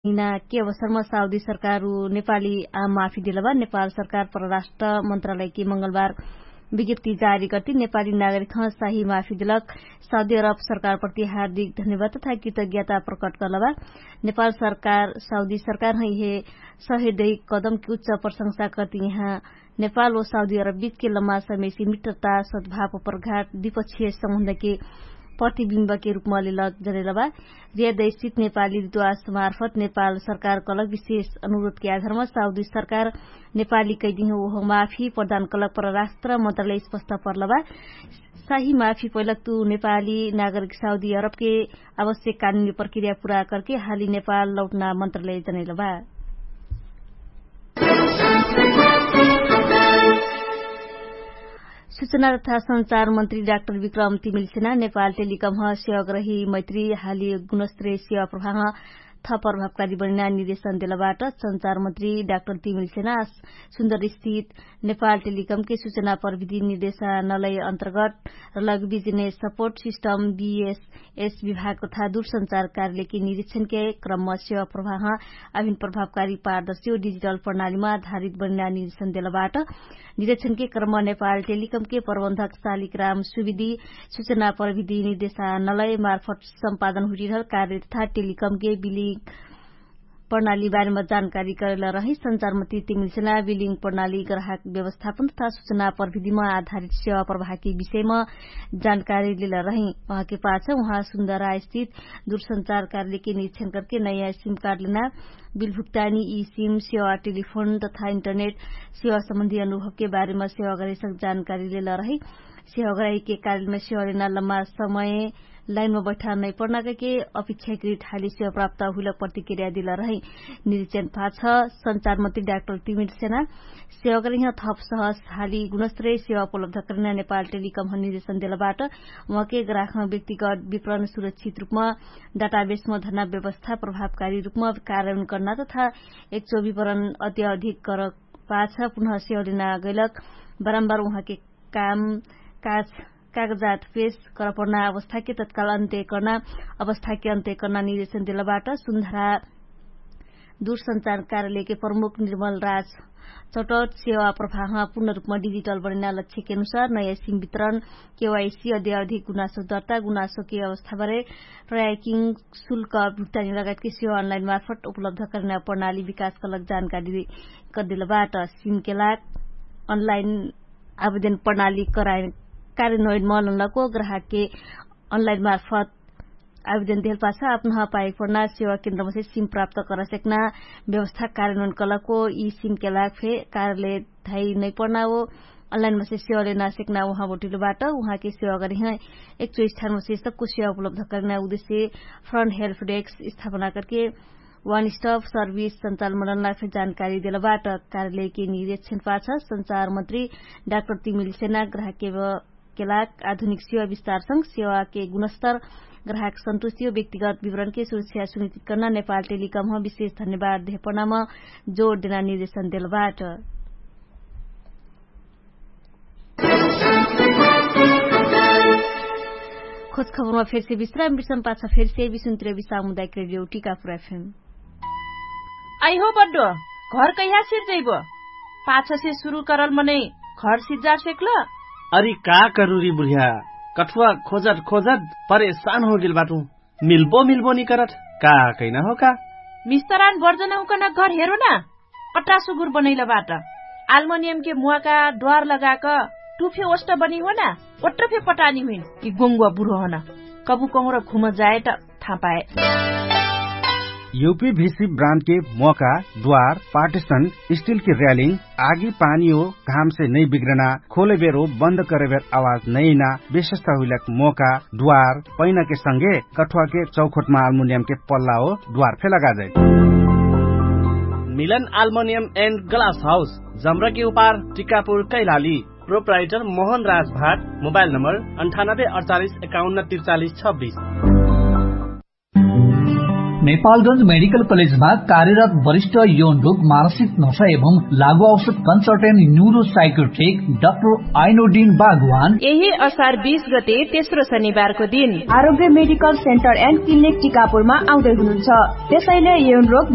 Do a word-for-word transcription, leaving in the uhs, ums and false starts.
हिना के अवसरमा साउदी सरकार उ नेपाली आम माफी देलबा नेपाल सरकार परराष्ट्र मन्त्रालयकी मंगलबार विज्ञप्ति जारी गर्ति नेपाली नागरिकह साही माफी देलक। साउदी अरब सरकार प्रति हार्दिक धन्यवाद तथा कृतज्ञता प्रकट करलबा। नेपाल सरकार साउदी सरकार है हे सहृदय कदमकी उच्च प्रशंसा करति यहाँ नेपाल व साउदी अरब बिचके लम्मा समयसी मित्रता सद्भाव प्रघाट द्विपक्षीय सम्बन्धके प्रतिविम्बके रुपमा लेलक जनेलबा। रियादैसित नेपाली दुवास मार्फत नेपाल सरकार कलक विशेष अनुरोधके आधारमा साउदी सरकार नेपाली कैदिह ओह माफी प्रदान कलक परराष्ट्र मन्त्रालय स्पष्ट पर्लबा। साही माफी पैलक तु नेपाली नागरिक साउदी अरबके आवश्यक कानुनी प्रक्रिया पुरा करके हाली नेपाल लौटना मन्त्रालय जनेलबा। सुचना तथा सञ्चार मन्त्री डाक्टर विक्रम तिमिल्सेना नेपाल टेलिकमह सेवाग्रही मैत्री हाली गुणस्त्रे सेवा प्रभाह थपरभावकारी बनिना निर्देशन देलबाट। सञ्चार मन्त्री डाक्टर तिमिल्सेना सुन्दर स्थित नेपाल टेलिकमके सुचना प्रविधि निर्देशा नलय अन्तर्गत रलग बिजनेस सपोर्ट सिस्टम बिएसएस विभाग तथा दुरसञ्चार कार्यालयके निरीक्षणके क्रममा सेवा प्रभाह अभिन प्रभावकारी पारदर्शी व डिजिटल प्रणालीमा आधारित बनिना निर्देशन देलबाट। निरीक्षणके क्रममा नेपाल टेलिकमके प्रबन्धक सालिक राम सुविधि सुचना प्रविधि निर्देशा नलय मार्फत सम्पादन हुटिरहल कार्य तथा टेलिकमके बिलिङ प्रणाली बारेमा जानकारी करेल रही। सञ्चार मन्त्री तिमिल्सेना बिलिङ प्रणाली ग्राहक व्यवस्थापन तथा सुचना प्रविधिमा आधारित सेवा प्रभाकी विषयमा जानकारी लेल रही। उहाँके पाछ उहाँ सुन्दरा स्थित दुरसञ्चार कार्यालयके निरीक्षण करके नयाँ सिम कार्ड लेना बिल भुक्तानी ई सिम सेवा टेलिफोन तथा इन्टरनेट सेवा सम्बन्धी अनुभवके बारेमा सेवा गराइसक जानकारी लेल रही। सेवा गराइके कार्यलयमा सेवा लेना लम्मा समय लाइनमा बैठा नैपर्ना कहिके अपेक्षाकृत हाली सेवा प्राप्त हुइलक प्रतिक्रिया दिल रही। निरीक्षण पाछ सञ्चार मन्त्री डाक्टर तिमिर सेना सेवा गराइह थप सहस हाली गुणस्त्रै सेवा उपलब्ध करना नेपाल टेलिकमह निर्देशन देलबाट। उहाँके ग्राहकह व्यक्तिगत विपरण सुरक्षित रुपमा डाटाबेसमा धर्ना व्यवस्था प्रभावकारी रुपमा कार्यान्वयन करना तथा एक्चो विपरण अत्याधिक करक पाछ पुनः सेवा लेना गैलक। बारम्बार उहाँके काम काज कागजात पेश करपर्ना अवस्थाके तत्काल अन्त्य कर्ना अवस्थाके अन्त्य कर्ना निर्देशन देलबाट। सुन्धरा दुरसञ्चार कार्यालयके प्रमुख निर्मल राज चटट सेवा प्रभाहमा पूर्ण रुपमा डिजिटल बनेना लक्ष्यके अनुसार नयाँ सिम वितरण केवाइसी अद्यावधिक गुनासो दर्ता गुनासोके अवस्थाबारे ट्र्याकिङ शुल्क भुक्तानी लगायतके सेवा अनलाइन मार्फत उपलब्ध करेना प्रणाली विकास कलक जानकारी कदेलबाट। सिमके लाग अनलाइन आवेदन प्रणाली कराए कार्यान्वयन मलनको ग्राहकके अनलाइन मार्फत आवेदन देहल पाछ आपनह पाएक पर्ना सेवा केन्द्रमसे सिम प्राप्त करसेक्ना व्यवस्था कार्यान्वयन कलको यि सिमके लाग फे कार्यालय धाइ नैपर्ना हो। अनलाइनमसे सेवा लेना सेक्ना उहाँ बोटिलो बाट उहाँके सेवा गरिह एक्चो स्थानमसे सक्को सेवा उपलब्ध करेना उद्देश्य फ्रन्ट हेल्फ डेक्स स्थापना करके वान स्टप सर्भिस सञ्चालमनन लाग फे जानकारी देलबाट। कार्यालयके निरीक्षण पाछ सञ्चार मन्त्री डाक्टर तिमिल सेना ग्राहकके लाग आधुनिक सेवा विस्तारसँग सेवाके गुणस्तर ग्राहक सन्तुष्टि हो व्यक्तिगत विवरणके सुरक्षा सुनिश्चित कर्ना नेपाल टेलिकमह विशेष धन्यवाद देहपनाम जोड देना निर्देशन देलबाट। खोज खबरमा फेरसे विश्राम विश्राम पाछ फेरसे विसुन्त्रियो विश्राम उदायक रेडियो टिकापुर एफएम। आइहो बड्डो, घर कैहा सिर जैबो? पाछसे सुरु करल मनै घर सिज्जा सेक्ल? अरि का करुरी बुढिया, कठुवा खोजत खोजत परेशान होगेल बाटु। मिल्बो मिल्बो निकरत का कैना हो का? मिस्तरान बर्जन हुकन घर हेरो ना। पट्टा सुगुर बनैल बाट आल्मनियमके मुवाका द्वार लगाक टुफे ओष्ट बनी हो ना। ओट्रफे पटानी हुइन कि गोङ्गुवा बुढो हन। कबु कहुँर घुम जाए त थाहा पाए। युपी भिसी ब्रान्डके मोका द्वार पार्टिसन स्टिलके र्यालिङ आगी पानी हो घामसे नै बिग्रना खोलेबेर हो बन्द करेबेर आवाज नैना विशेषता हुइलक मोका द्वार पैनाके संगे कठुवाके चौखोटमा आल्मुनियमके पल्ला हो द्वार फे लगा जाए। मिलन आल्मुनियम एन्ड ग्लास हाउस जम्रकी उपार टिकापुर कैलाली। प्रोप्राइटर मोहन राज भाट। मोबाइल नम्बर अन्ठानब्बे अडचालिस एकाउन्न त्रिचालिस छब्बिस। नेपालगंज मेडिकल कलेजमा कार्यरत वरिष्ठ यौन रोग मानसिक नशा एवं लागु औषध कन्सल्टेन्ट न्युरो साइकोट्रिक डाक्टर आइनोडिन बागवान यही असार बीस गते तेस्रो शनिबारको दिन आरोग्य मेडिकल सेन्टर एन्ड क्लिनिक टिकापुरमा आउँदै हुनुहुन्छ। त्यसैले यौन रोग